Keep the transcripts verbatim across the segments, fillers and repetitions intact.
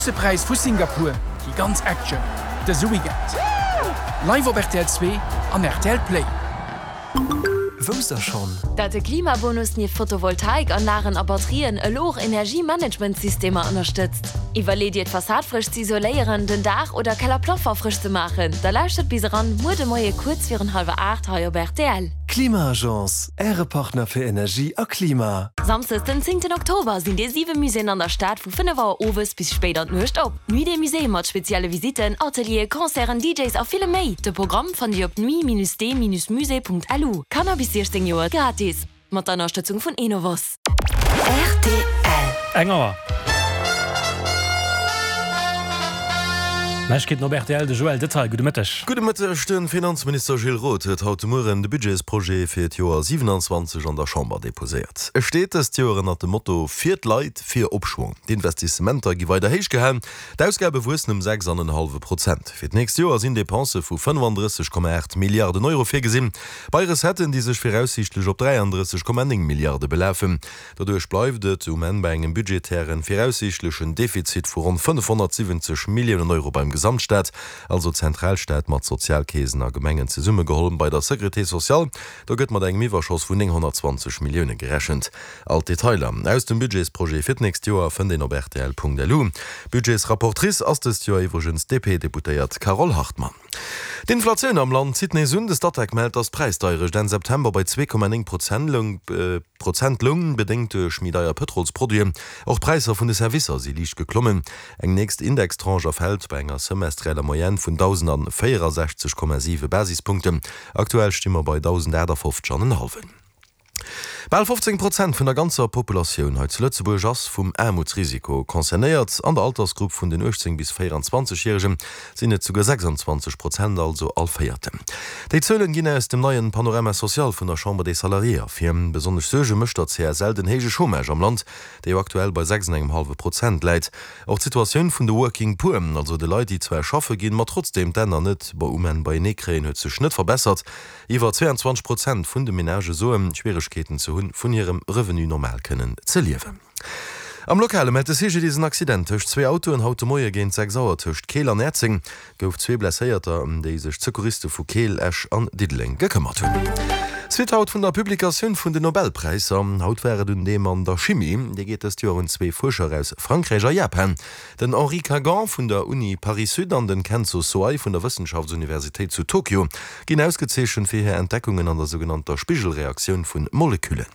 Grousse Präis vu Singapur, déi ganz Action dëse Weekend live op rtl zwee an rtl Play. Wousst der schonn? Dat de Klimabonus nieft Photovoltaikanlagen a Batterien elo och Energiemanagementsystemer ënnerstëtzt? Iwwerleet Dir d'Fassad frësch ze isoléieren, den Daach oder Kellerplaffer frësch ze maachen? Da lauschtert bis eran muer de Moie kuerz virun hallwer aacht hei op rtl. Klima-Agence, Äre Partner fir Energie a Klima. Samsdes den zéngten Oktober sinn déi siwe Muséeën an der Stad vu fënnef Auer owes bis spéit an d'Nuecht op. Nuit des Musées mat spezielle Visitten, Atelieren, Concerten, DJs a villem méi. De Programm fannt Dir op nuit-des-musées.lu. Kanner bis siechzéng Joer gratis. Mat der Ënnerstëtzung vun Enovos. Rtl. Eng Auer. Neiegkeeten op rtl, de Joël Detail. Gudde Mëtteg. Gudde Mëtteg. De Finanzminister Gilles Roth huet haut de Mueren de Budgetsprojet fir d'Joer siewenanzwanzeg an der Chamber deposéiert. E steet dëst Joer ënnert dem Motto Fir d'Leit, fir Opschwong. D'Investissementer gi weider héich gehalen, d'Ausgabe wuessen ëm sechs an en hallwe Prozent. Fir d'nächst Joer sinn Depensë vu fënnefandrësseg Komma aacht Milliarden Euro virgesinn, bei Recetten, déi sech viraussiichtlech op dräiandrësseg Komma néng Milliarde belafen. Doduerch bleift et um Enn bei engem budgetären viraussiichtlechen Defizit vu ronn fënnefhonnertsiwwenzeg Milliounen Euro beim Gesamtstaat, also Zentralstaat mat Sozialkeesen a Gemengen zesummegeholl. Bei der Sécurité sociale, do gëtt mat engem Iwwerschoss vun nénghonnertzwanzeg Millioune gerechent. All d'Detailer aus dem Budgetsprojet fir d'nächst Joer fënnt een op rtl.lu. Budgetsrapportrice ass dëst Joer iwwregens d'DP-Deputéiert Carole Hartmann. D'Inflatioun am Land zitt nees un. De Statec mellt, datt d'Präisdeierecht Enn September bei zwee Komma néng Prozent loung, bedéngt duerch méi deier Pëtrolsproduiten. Och d'Präisser vun de Servicer si liicht geklommen. Eng nächst Indextranche erfält bei enger semestrieller Moyenne vun dausendvéierasechzeg Komma siwe Basispunkten. Aktuell sti mer bei dausendaachtafofzeg an en hallwen. Bal fofzéng Prozent vun der ganzer Populatioun hei zu Lëtzebuerg ass vum Aarmutsrisiko concernéiert. An der Altersgrupp vun den uechtzéng bis véieranzwanzeg Järegen sinn et souguer sechsanzwanzeg Prozent, also all Véierten. Déi Zuelen ginn aus dem neien Panorama social vun der Chambre des Salariés ervir. Besonnesch Suerge mécht der C S L den héije Chômage am Land, dee jo aktuell bei sechs an engem hallwe Prozent läit. Och d'Situatioun vun de Working Poor, also de Leit, déi zwar schaffe ginn, ma trotzdeem d'Enner net um Enn beienee kréien, huet sech net verbessert. Iwwer zweianzwanzeg Prozent vun de Menagë soen, Schwieregkeeten ze hunn, vun hirem Revenu normal kënnen ze liewen. Am Lokale mellt de C G D I S en Accident tëscht zwee Autoen haut de Moie géint sechs Auer tëscht Keel an Näerzeng. Gouf zwee Blesséierter, ëm déi sech d'Secouriste vu Keel, Esch an Diddeleng gekëmmert hunn. Suite haut vun der Publikatioun vun den Nobelpräisser. Haut war et un deem an der Chimie. Dee geet dëst Joer un zwee Fuerscher aus Frankräich a Japan. Den Henri Kagan vun der Uni Paris-Sud an den Kenzo Soai vun der Wëssenschaftsuniversitéit zu Tokio ginn ausgezeechent fir hir Entdeckungen an der sougenannter Spigelreaktioun vun Moleküllen.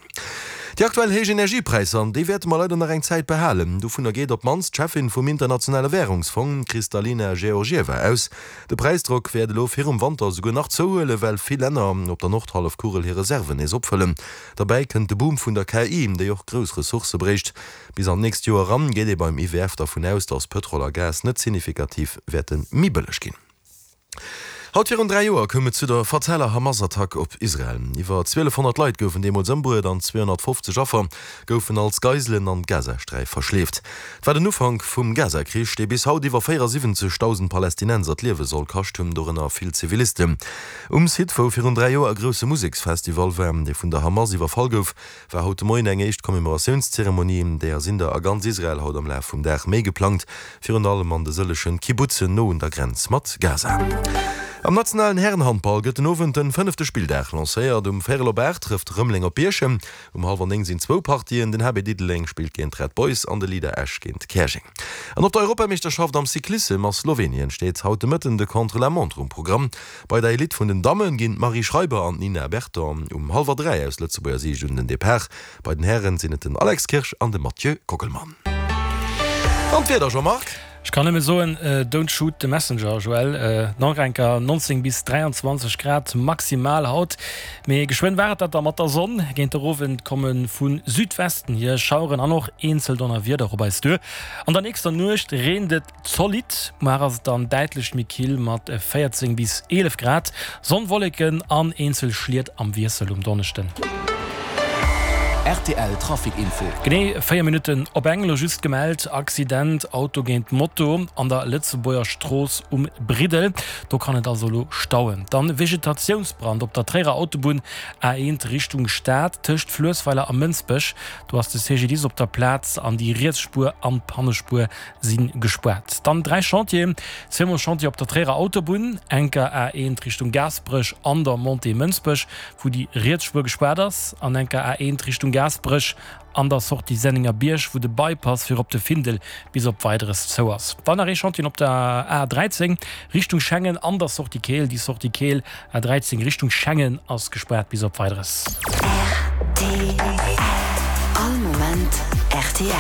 Déi aktuell héich Energiepräisser, déi wäerte mer leider nach eng Zäit behalen. Dovunner geet op d'mannst d'Cheffin vum Internationale Wärungsfong, d'Kristalina Georgieva, aus. De Präisdrock wäert elo virum Wanter esouguer nach zouhuelen, well vill Länner op der Nordhallefkugel hir Reserven nees opfëllen. Derbäi kënnt de Boom vun der K I, déi och grouss Ressourcë bréicht. Bis an d'nächst Joer eran geet ee beim I W F dervun aus, datt Pëtrol a Gas net signifikativ wäerte méi bëlleg ginn. Haut virun dräi Joer koum et zu der fataler Hamas-Attack op Israel. Iwwer zwielefhonnert Leit goufen deemools ëmbruet an zweehonnertfofzeg Affer goufen als Geiselen an d'Gazasträif verschleeft. Et war den Ufank vum Gaza-Krich, dee bis haut iwwer véierasiwwenzegdausend Palästinenser d'Liewe soll kascht hunn, dorënner vill Zivilisten. Um Site, wou virun dräi Joer e grousse Museksfestival war, dee vun der Hamas iwwerfall gouf, war haut de Moien eng éischt Commémoratiounszeremonie. Deeër sinn der a ganz Israel haut am Laf vum Dag méi geplangt, virun allem an de sëllegen Kibbutzen no un der Grenz mat Gaza. Am nationalen Härenhandball gëtt den Owend den fënnefte Spilldag lancéiert. Um véierel op aacht trëfft Rëmeleng op Bierchem. Um hallwer néng sinn zwou Partien, Den H B Diddeleng spillt géint d'Red Boys an de Leader Esch géint Käerjeng. An op der Europameeschterschaft am Cyclissem a Slowenien steet haut de Mëtten de Contre-la-montre um Programm. Bei der Elite vun den Damme ginn d'Marie Schreiber an d'Nina Berton um hallwer dräi aus Lëtzebuerger Siicht un den Depart. Bei den Hären sinn et den Alex Kirsch an de Mathieu Kockelmann. An d'Wieder, Jean-Marc? Ech kann nëmme soen, Don't shoot the messenger, Joël. Nach eng Kéier neunzéng bis dräianzwanzeg Grad maximal haut, mee geschwënn war et dat da mat der Sonn. Géint der Owend komme vu Südwesten hier Schaueren an och eenzel Donnerwieder op eis duer. An der nächster Nuecht reent et zolidd, muar ass et dann däitlech méi kill mat véierzéng bis eelef Grad. Sonn, Wolleken an eenzel Schliet am Wiessel um Donneschden. Rtl Trafic Info. Genee véier Minutten op eng, elo just gemellt, Accident, Auto géint Moto an der Lëtzebuerger Strooss um Briddel. Do kann et also elo stauen. Dann Vegetatiounsbrand op der Tréierer Autobunn A eent Richtung Stad tëscht Fluessweiler a Mënsbech. Do ass de C G D I S op der Plaz an déi riets Spuer an d'Pannespuer si gespaart. Dann dräi Chantieren, zweemol Chantier op der Tréierer Autobunn, enker A eent Richtung Gaasperech an der Montée Mënsbech, wou déi riets Spuer gespaart ass, an enker A eent Richtung Gaasperech an der Sortie Sennengerbierg, wou de Bypass fir op de Findel bis op Weideres zou ass. Dann nach ee Chantier op der A dräizéng Richtung Schengen an der Sortie Keel. Déi Sortie Keel A dräizéng Richtung Schengen ass gespaart bis op Weideres. Rtl. All Moment rtl.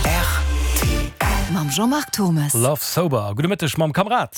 Rtl. Mam Jean-Marc Thomes. Love Sober. Gudde Mëtteg mam Kamerad.